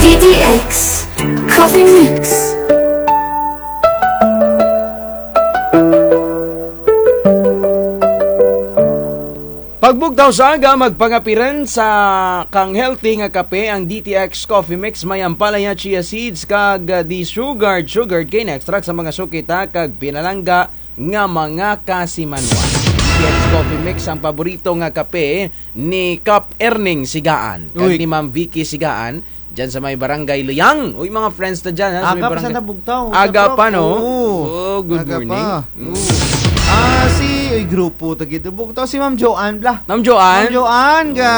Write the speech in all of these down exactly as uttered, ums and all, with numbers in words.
D T X Coffee Mix. Pagbugtaw sa aga, magpangapiran sa kang healthy nga kape ang D T X Coffee Mix, may ampalaya, chia seeds, kag, ah, desugared, sugarcane extract sa mga suki ta kag pinalangga nga mga kasimanwa. D T X Coffee Mix ang paborito nga kape ni Kap Erning Sigaan kag Uy. ni Ma'am Vicky Sigaan. Dyan sa may barangay Luyang. Uy, mga friends ta dyan, ha, sa may Aga pa barangay. Sa nabugtaw, Aga sa pa, no? Oo. Oh, good Aga morning. pa. Mm. Oo. Ah, si, uy, grupo ta gid. Bugtaw si Ma'am Joanne, bla. Ma'am Joanne? Ma'am Joanne, ga,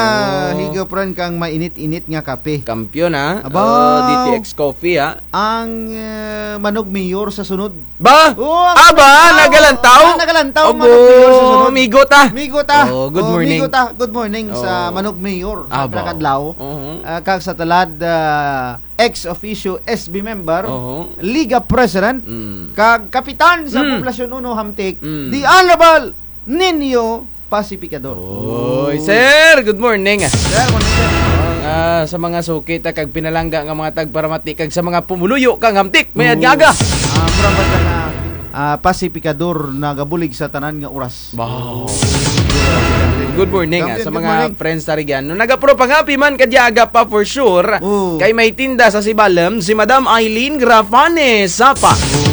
Oo. higop ran kang mainit-init nga kape. Kampiyon, ha? Aba. Oh, D T X Coffee, ha? Ang, eh, manugmayor sa sunod. Ba? Oo, ang Aba, ah, nagalantaw? ah, nagalantaw, Abo, manugmayor sa sunod. Migo ta. Migo ta. Oh, good Oh, morning. migo ta. Good morning sa Oh. manugmayor sa Aba. Trakadlaw. Mhm. Ah, kag sa tulad, ah, ex officio S B member, Oho. Liga President, Mm. kag kapitan sa Mm. Poblasyon Uno Hamtic, Mm. the Honorable Nino Pacificador. Oy, sir, good morning. Sir, morning, sir. Ah, sa mga suki ta kag pinalangga nga mga tagparamati kag sa mga pumuluyo kang Hamtic, may Oo. adlaw aga. Ah, mura ba ta nga, ah, Pacificador nagabulig sa tanan nga oras. Wow. Good morning, ah, Good sa mga morning. friends ta rugyan. No, nagapropangapi man kadya aga pa for sure. Oo. Kay may tinda sa Sibalom, si Madam Eileen Grafane Sapa. Oo.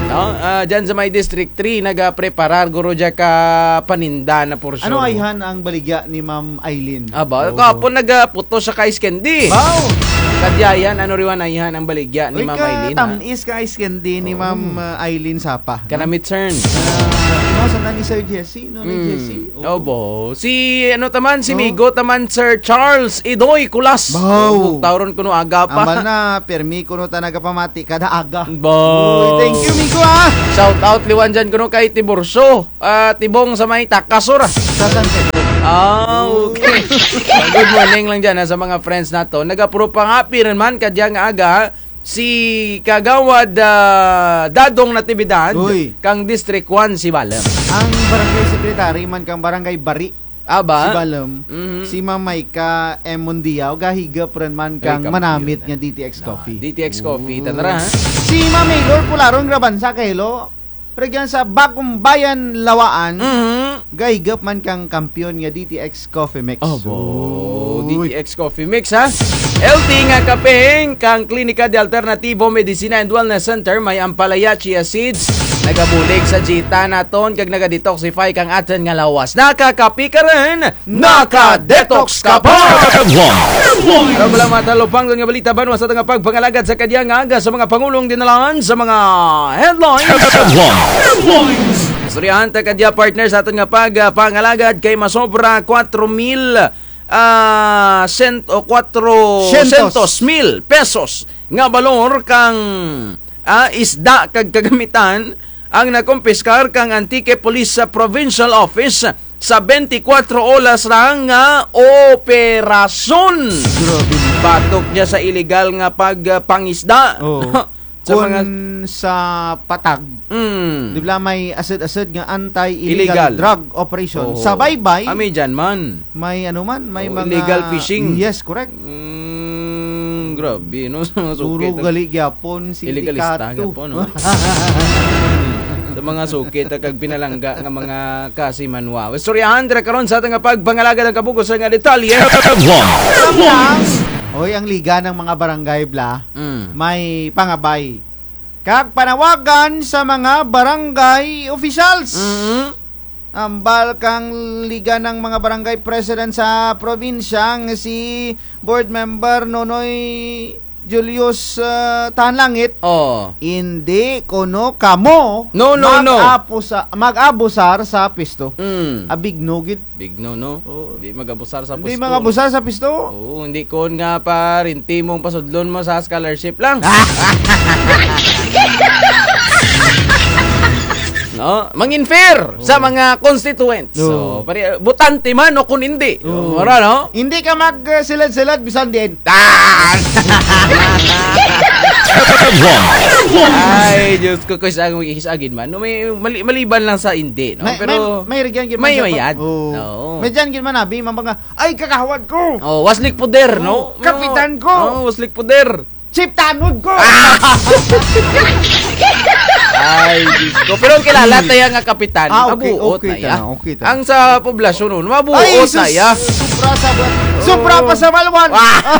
No, ah, dyan sa may District three, nagapreparar guro dya ka paninda na for sure. Ano ayhan ang baligya ni Ma'am Eileen? Aba, Oo. kahapon nagaputos sa ka ice candy. Wow! Kadya yan, ano riwan ayhan ang baligya ni Uy, Ma'am Eileen, ha? katamis ka ice candy ni Oo. Ma'am, ah, Eileen Sapa, no? Kanamit, sir. Ah, no, sa nani Sir Jesse, no, ni Mm. Jesse? Oo. Obo. Si, ano taman, si No? Migo taman, Sir Charles Idoy Kulas. Wow. Oo, tawron kuno aga pa. Ambal na, permi kuno ta nagapamati kada aga. Bo. Uy, thank you, Migo, ah. Shout out liwan dyan kuno kay Tiburcio. Ah, Tibong sa may Takasur. Sa San Pedro. Ah, okay. Good morning lang dyan, ha, sa mga friends nato. Nagapropangapi rin man kadya nga aga, si Kagawad, ah, Dadong Natividad, Uy. kang District one, Sibalom. Ang barangay secretary man kang barangay Bari, Aba? Sibalom, Mhm. si Ma'am Maika M. Mundiao, gahigop rin man Ay, kang kampiyon manamit na. nga D T X Ah, Coffee. D T X Coffee, Ooh. tanara, ha? Si Ma'am Maylor Pularon Grabansa, kahilo, rugyan sa Bagumbayan, Lawaan, Mhm. gahigop man kang kampiyon nga D T X Coffee Mix. Abo, Uy. D T X Coffee Mix, ha? Healthy nga kapeng kang Klinika de Alternativo Medicina and Wellness Center, may ampalaya, chia seeds, nagabulig sa jita naton, kag naga-detoxify kang atun nga lawas. Nakakapi ka run, naka-detox ka pa! Headlines. Para wala matalupangdon nga balita, banwa sa atun nga pagpangalagad sa kadya nga aga sa mga pangulong dinalaan sa mga headlines. Headlines. Istoryahan ta kadya, partner, sa atun nga pag, ah, pangalagad kay masobra kwatro mil, ah, sent-, o kwatro syentos mil pesos nga balor kang, ah, isda kag kagamitan ang nakumpiskar kang Antique Police sa Provincial Office sa bente kwatro oras ra nga operasyon. Grabe. Batok dya sa iligal nga pag, ah, pangisda. Oo. Sa Kun mga sa patag, Mm. di bala may asud-asud nga anti-illegal Illegal. drug operation. Oo. Sa baybay, Ami dyan man. may ano man, may Oh, mga illegal fishing. Yes, correct. Mm, grabe, no? Sa mga Puro suki, gali gyapon, Illegalista sindikato. gyapon, no? Sa mga suki ta kag pinalangga nga mga kasimanwa. Istoryahan ta karon sa atun nga pagpangalagad ang kabug-os nga detalye. Headlines. Oy, ang Liga ng mga Barangay, bla, Mm. may pangabay kag panawagan sa mga barangay officials. Mm. Ambal kang Liga ng mga Barangay President sa probinsya nga si Board Member Nonoy Julius, ah, Tanlangit, Oh. indi kuno kamo No, no, no. mag-apusa-, mag-abusar sa pwesto. Mm. Abig no gid. Big no, no? Oo. Di mag-abusar sa Hindi pwesto, mag-abusar no? sa pwesto. Oo, hindi kon nga pa rin timong pasudlon mo sa scholarship lang. No? Mangin fair sa Oo. mga constituents. Oo. So, pare, botante man o kung hindi. Oo. Mura, no? Hindi ka mag, uh, silad-silad, bisan diin. Ah! Ay, Diyos ko, kis-a, kis-a gid man. No, may, mali-, maliban lang sa indi, no? May, pero may, may rugyan gid man may sa mayad. Oo. May dyan gid man, abi, mga, "Ay, kagawad ko!" Oh, waslik poder, no? Oo, kapitan ko! Oh, waslik poder. Chief tanod ko! Ah! Ay, Diyos ko. Pero ang kilala taya nga kapitan, ah, okay, mabuot okay taya. Tana, okay tana. Ang sa poblasyon, no, mabuot taya. Ay, sus, sobra sa ba-, sobra pa sa Malwan. Ah!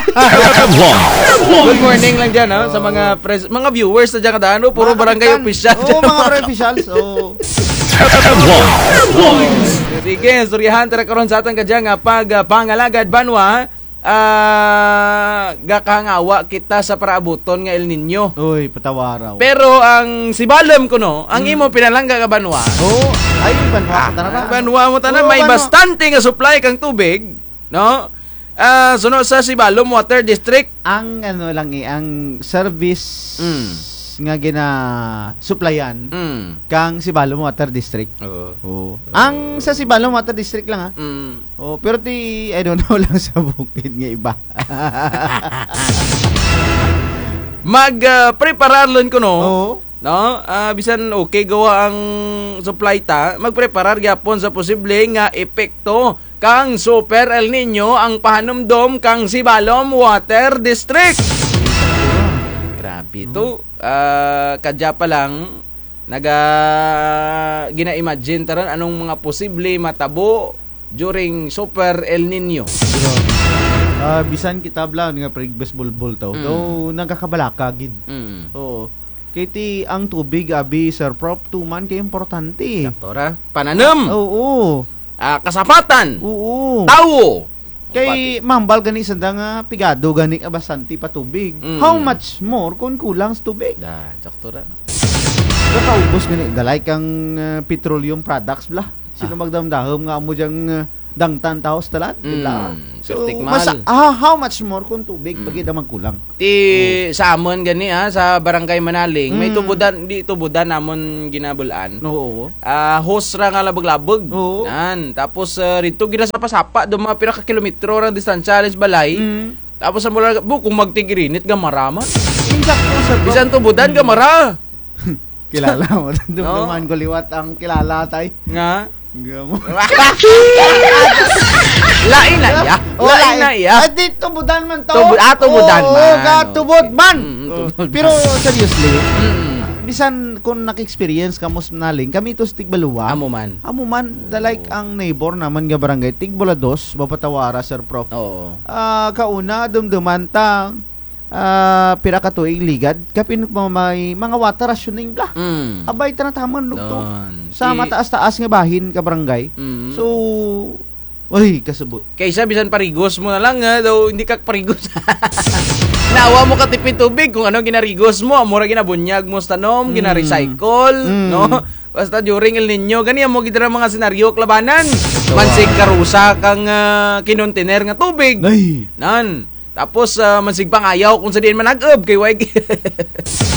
Good morning lang dyan, ha, sa mga pres-, mga viewers sa dyan kadaan, no? Puro barangay official. Oo, mga barangay officials, oo. Sige, istoryahan tara karon sa atun kadya nga pag, ah, pangalagad banwa. Ah, gakahangawa kita sa paraabuton nga El Niño. Uy, patawaraw. Pero ang Sibalom kuno, ang imo pinalangga nga banwa. Oo, ay, banwa ko tana. Ah, banwa mo tana, oo, may banwa. Bastante nga supply kang tubig, no? Ah, suno sa Sibalom Water District. Ang ano lang eh, ang service nga gina-supplyan kang Sibalom Water District. Oo. Oo. Ang sa Sibalom Water District lang, ha? Mm. Oh, pero ti, I don't know lang sa bukid nga iba. Mag, ah, preparar lang kuno. Oo. No? Ah, bisan okay gawa ang supply ta, magpreparar gyapon sa posible nga epekto kang Super El Niño ang pahanumdom kang Sibalom Water District. Grabe to. Ah, kadya pa lang, naga-, gina-imagine ta run anong mga posible matabo during Super El Niño. Grabe. Ah, bisan kita bala nga previous bulbul to. Mm. Though, nagakabalaka gid. Mm. Oo. Kay ti ang tubig, abi, Sir Prof, tuman kay importante. Sakto ra. Pananum. Oo. Ah, kasapatan. Oo. Tawo. Kay mambal gani sanda nga pigado gani ka bastante pa tubig. Mm. How much more kung kulang sa tubig? Da, sakto ra, no? Kakaubos gani, dalay kang, ah, petroleum products bala. Sino magdahum-dahum nga amo dyang, ah, dangtan tawo sa dalan, di bala? Mm, so, pirti mahal. Masa-, ah, how much more kung tubig pa gid ang magkulang? Ti sa amun gani, ah, sa Barangay Manaling, may tubudan, di tubudan amun ginabul-an. Oo. Ah, hose ra nga labag-labag. Oo. Nan, tapos, ah, rito gid ra sapa-sapa, do mga pira ka kilometro ra distansya halin sa balay. Mm. Tapos ang mula, bu, kung magtig-irinit, gamara man. Insakto, sir. Bisan tubudan, gamara. Kilala mo, dumduman ko liwat ang kilala, tay. Nga? Nga mo. Lain na iya. Oh, lain na iya. Ah, di, tubudan man to. Tubud-, ah, tubudan man. Oo, gatubod man. Mm, mm, tubod man. Pero seriously, bisan kung naka-experience kamo sa Manaling, kami to sa Tigbalua. Amo man. Amo man, da like ang neighbor namun nga barangay, Tigbalua dos, mapatawara, Sir Prof. Oo. Ah, kauna, dumduman ta, ah, pira ka tuig ligad, kapin may mga water rationing bala. Mm. Abay, tana taman, lugto. Sa mataas-taas nga bahin ka barangay. Mm. So, uy, kasubo. Kaysa bisan parigos mo na lang, ah, daw hindi ka parigos. Nawa mo katipid tubig kung ano ginarigos mo, amo ra ginabunyag mo sa tanom, ginarecycle, no? Basta during El Niño, gani amo gid ra mga senaryo kalabanan. Mansig karusa kang, ah, kinontener nga tubig. Ay. Nan. Tapos, ah, mansig pangayaw kung sa diin manag-ub, kay way gi-,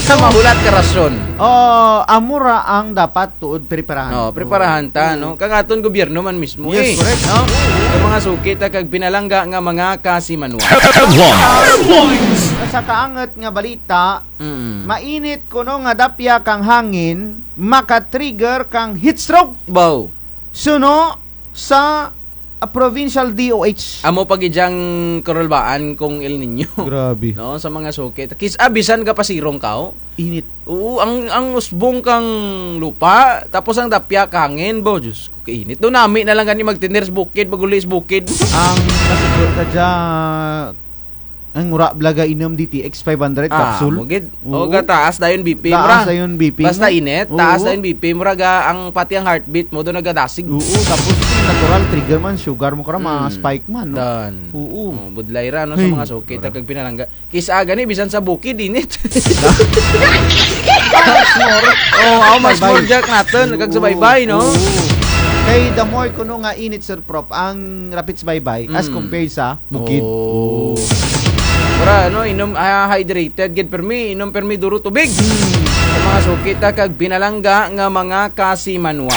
sa mahulat ka rasyon. Oh, amo ra ang dapat tuod preparahan. Oh, preparahan ta, no? Kang atun gobyerno man mismo, eh, correct, no? Sa mga suki ta kag pinalangga nga mga kasimanwa. Sa kaangot nga balita, mainit kuno nga dapya kang hangin, maka-trigger kang heat stroke. Baw. Suno sa, ah, provincial D O H. Amo pa gid dyang karulbaan kung El Niño. Grabe. No, sa mga suki. Kis-a bisan gapasirong kaw. Init. Oo, ang, ang usbong kang lupa, tapos ang dapya ka hangin, bo, Diyos ko, kainit. Daw nami na lang gani magtener sa bukid, maguli sa bukid. Ang nasugot ka dya, ang wara bala gainom D T X five hundred capsule. Ah, amo gid. Oo. O, gataas dayon B P mo ra. Taas dayon B P mo. Basta init, taas dayon B P mo ra ga, ang pati ang heartbeat mo, daw nagadasig. Oo, tapos natural trigger man, sugar mo kara, ma-spike man, no? Oo. Oh, budlay ra, no, sa mga suki ta kag pinalangga. Kis-a gani, bisan sa bukid, init. Oh, how much more, Jack, natun, kag sa baybay, no? Oo. Kay the more kuno nga init, Sir Prof, ang rapit sa baybay, as compared sa bukid. Oh. Para, ano, inom, ah, hydrated gid permi, inom permi duro tubig. Hmm. Sa mga suki ta kag pinalangga nga mga kasimanwa.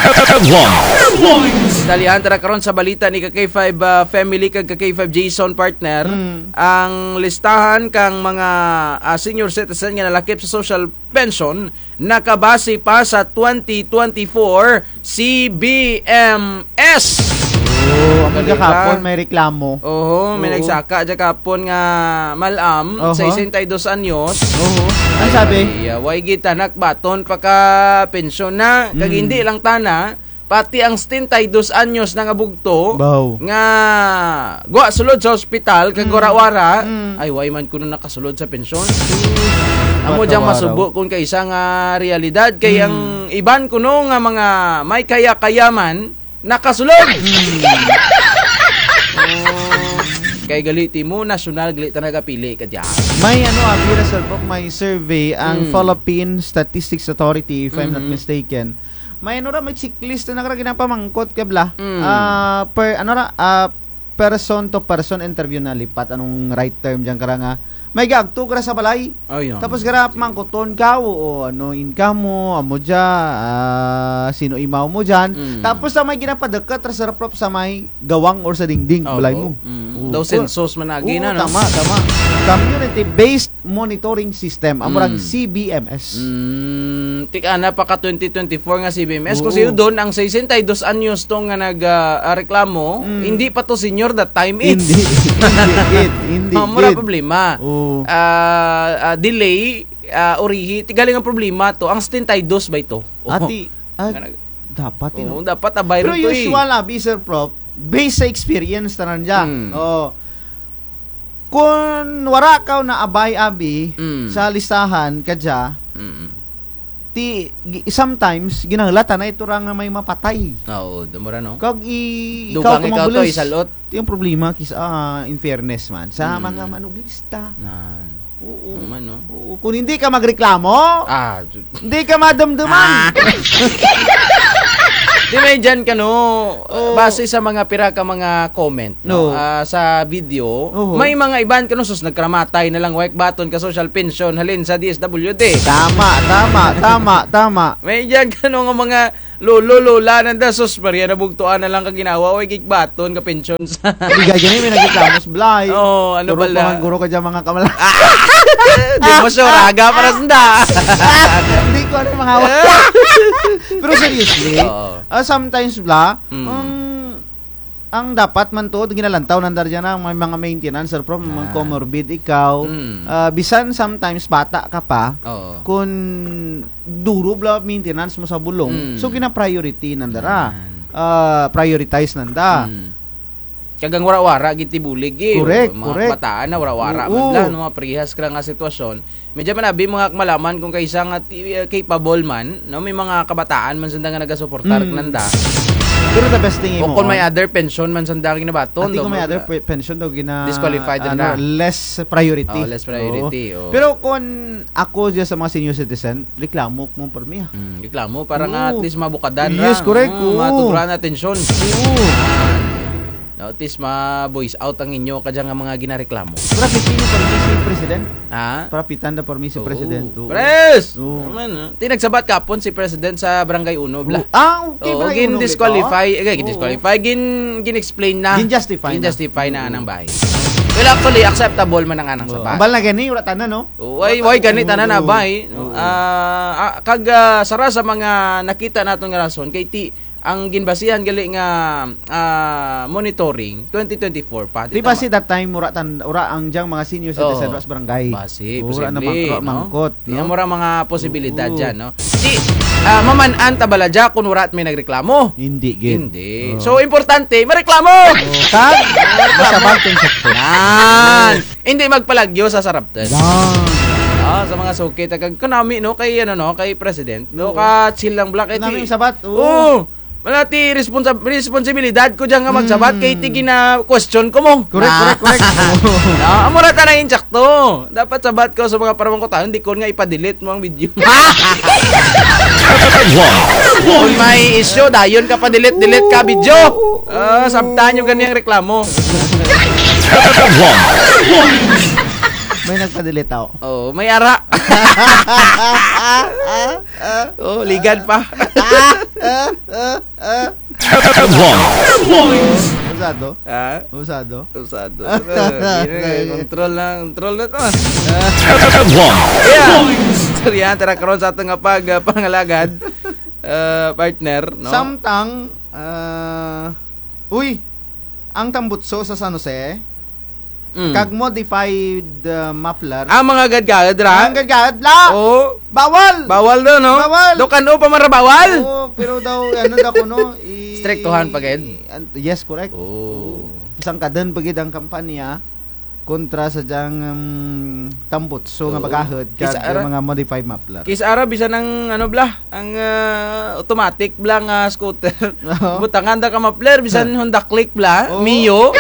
Dalihan tara karon sa balita ni ka K five, ah, family kag ka K five Jason, partner. Mm. Ang listahan kang mga, ah, senior citizen nga nalakip sa social pension nakabase pa sa twenty twenty-four C B M S. Oh, amo dya kahapon may reklamo. Oho, may nagsaka dya kahapon nga mal-am, sesenta y dos anyos. Oho. Ano sabi? Ay, ah, way gid tana kang baton pakapensyon na, kag hindi lang tana, pati ang setenta y dos anyos na nga bugto nga gwa sulod sa ospital kag wara-wara, ay, way man kuno nakasulod sa pensyon. Amo dyang masubo kon kaisa nga realidad, kay ang iban kuno nga mga may kaya-kaya man, nakasulod. Oh, kay gali ti mo, nasyonal, gali ta nagapili kadya. May ano, abi ra, Sir Pop, may survey ang Philippine Statistics Authority, if I'm not mistaken. May ano ra, may checklist na kara ginapamangkot ka bala. Ah, per, ano ra, ah, person to person interview na lipat anong right term dyan kara nga. May gaagto kara sa balay. Tapos kara mangkoton ka, o, o, ano income mo, amo dya, ah, sin-o imaw mo dyan. Tapos sa may ginapadeket ra, Sir Pop, sa may gawang or sa dingding balay mo. Daw census man agi na, no? Tama, tama. Community-based monitoring system, amo rang C B M S. Mm, ti kana pa ka twenty twenty-four nga C B M S. Kung sino doon, ang sesenta y dos anyos to nga nag, ah, ah, reklamo, hindi pa to senior that time, it's. Hindi, hindi, hindi. Amo ra problema. Ah, ah, delay, ah, urihi, ti gali nga problema to. Ang setenta y dos ba ito? Ati, ah, dapat, eh, no? Oo, dapat abay ron to, eh. Pero usual, abi, Sir Prop, based sa experience, tanan dya. Oo. Kon wara kaw naabay, abi, sa listahan kadya, ti, gi-, sometimes, ginahulat tana ito ra nga may mapatay. Oo, damo ra, no? Kag i-, ikaw to, isal-ot. Ti ang problema, kis-, ah, in fairness man, sa mga manugista. Oo. Oo man, no? Oo, kung hindi ka magreklamo, hindi ka madumduman. Di may dyan ka, no? Base sa mga pira ka mga comment, no? Ah, sa video, may mga iban ka, no? Sus, nagkaramatay na lang, wayk baton ka social pension, halin sa D S W D. Tama, tama, tama, tama. May dyan ka, no, nga mga lolo, lola, nanda, sus, Maria, nabugtuan na lang ka ginhawa, way gikbaton ka pension sa. Di gani, may nagreklamo sa balay. Oo, ano pala? Puro pamangkuro ka dyan, mga kamala. Di mo sure, aga para sanda. Hindi ko ano, mga. Pero seriously, ah, sometimes bala, um, ang dapat man to, ginalantaw nanda dyan ang may mga maintenance, or problem, mga comorbid ikaw. Ah, bisan sometimes bata ka pa, kun duro bala maintenance mo sa bulong. So, gina-priority nanda ra. Ah, prioritize nanda. Kag ang wara-wara gid ti bulig, eh. Correct, correct. Mga kabataan na wara-wara man lang, no, mga parehas kara nga sitwasyon. May dyan man abi mga kamalaman kung kaisa nga ti-, eh, capable man, no? May mga kabataan man sanda nga nagasuportar kananda. Pero the best thing imo, kung may other pension man sanda ginabaton, ati kung may other pe-, pension daw gina-, disqualified ano, less priority. Oh, less priority, oo. Pero kung ako dyan sa mga senior citizen, reklamo mo permi, ah. Mm, reklamo para nga at least mabukadan ra. Yes, correct. Oo, matudran atensyon. Oo. No, at least ma-voice out ang inyo kadya nga mga ginareklamo. Para piti mo permi si President. Ha? Para pitan da permi si President. Oo. Pres! Oo. Ano man, no? Ti nagsabat kahapon si President sa Barangay Uno, bala. Ah, okay, Barangay Uno, gin-disqualify. Eh, gin-disqualify. Gin-, gin-explain na. Gin-justify na. Gin-justify na anang bay. Well, actually, acceptable man ang anang sabat. Ambal na gani, wara tana, no? Oo, way, way gani tana na bay. Oo. Ah, ah, kag, ah, sara sa mga nakita naton nga rason, kay ti, ang ginbasihan gali nga, ah, monitoring, twenty twenty-four pa. Ti basi that time, wara tan-, wara ang dyang mga senior citizen, wara sa barangay. Basi, posible, wara mangkot, no? Ti amo ra mga posibilidad dyan, no? Ti, ah, maman-an ta bala dya kun wara may nagreklamo? Hindi gid. Hindi. So, importante, mareklamo! Oh, kag, masabat ang sakto. Yan. Hindi magpalagyo sa saraptan. Yan. Ah, sa mga suki, ta kag kanami, no, kay, ano, no, kay President, no, ka-chill lang bala kay ti. Kanami sabat, oo. Oo. Wara ti responsa-, responsibilidad ko dyan nga magsabat, kay ti gina-question ko mo. Correct, correct, correct. Ah, amo ra tana insakto. Dapat sabat ko sa mga paramangkot, ah, hindi ko nga ipa-delete mo ang video. Kung may issue, dayon ka pa-delete, delete ka video. Ah, sabtan nyo gani ang reklamo. May nagpa-delete ako. Oh, may ara. Oh, ligad pa. Ah, ah, ah, ah. Headlines. Usado? Ha? Usado? Usado. Ah, di na, control na, control na to. Headlines. Yeah. Istoryahan tana karon sa ato nga pag, ah, pangalagad, ah, partner, no? Samtang, ah, uy, ang tambutso sa San Jose, Mm. kag modified, ah, muffler. Ah, mga gad-gad ra? Ang gad-gad la! Oo. Bawal! Bawal daw, no? Bawal! Daw kan-o pa man ra bawal! Oo, pero daw, ano daw kuno, i-, Striktuhan pa gid? an-, yes, correct. Oo. Sangkadan pa gid ang kampanya kontra sa dyang, um, tambutso nga Oo. bagahod kag Kis-a ra, mga modified muffler. Kis-a ra bisan ang, ano bala, ang, ah, automatic bala nga scooter. Oo. Butangan da ka muffler, bisan Honda Click bala, Oo. Mio. Oo.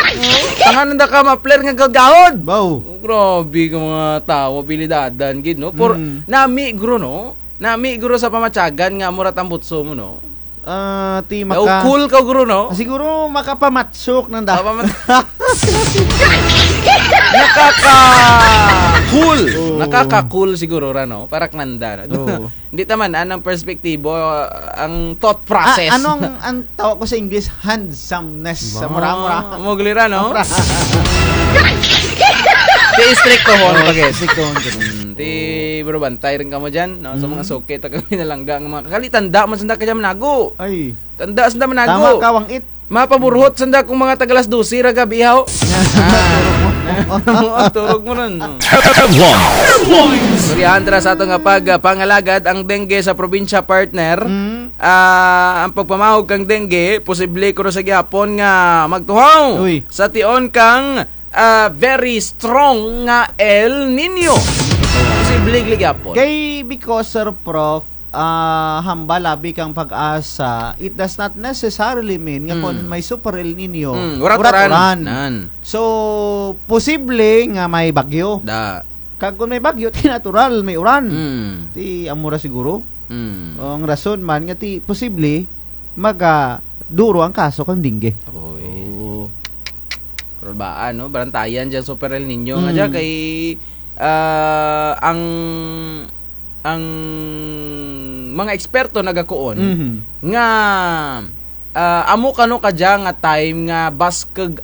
Butangan da ka muffler nga gahod-gahod. Baw. Oh, grabe ka mga tawo, abilidadan gid, no? Por, Mm. nami guro, no? Nami guro sa pamatyagan nga amo ra tambutso mo, no? Ah, ti Daw maka- cool ka guro, no? Siguro makapamatsok nanda. Papamat- Nakaka-cool. Oo. Nakaka-cool siguro ra, no? Para kananda, no? Oo. Hindi ta man-an ang perspektibo, ah, ang thought process. Ah, ano ang, ang tawag ko sa English? Handsomeness. Sa mura-mura. Mugli ra, no? Mura. Ti istriktohon Oo, pa gid. Istriktohon gid. Mm, ti, bro, bantay run kamo dyan, no? Sa mga Mm. suki ta kami nalangga nga mga kakali, tanda man sanda ka dyan manago. Ay. Tanda sanda manago. Tama ka, Wang It. Mapaburhot sanda kung mga taga alas dose ra gabi, haw. Ah. Turog mo run, no? Headlines. Istoryahan tana sa ato nga pag, ah, pangalagad ang dengue sa probinsya, partner. Mm. Ah, ang pagpamahog kang dengue, posible kuno sa gihapon nga magtuhaw Uy. sa tion kang, ah, very strong nga El Niño. Posible gid gihapon. Kay because, Sir Prof, ah, hambal abi kang PAGASA, it does not necessarily mean nga Mm. kon may super El Niño, Mm, wara't wara't uran. uran. Nan. So, posible nga may bagyo. Da. Kag kon may bagyo, ti natural, may uran. Mm. Ti amo ra siguro. Mm. O, ang rason man nga ti posible, magaduro ang kaso kang dengue. Oy. Oo. Pero baan, no? Barantayan dyan super El Niño nga Mm. dyan kay, ah, ang, ang mga eksperto nagakuon Mhm. nga, ah, amo kano kadya nga time nga baskug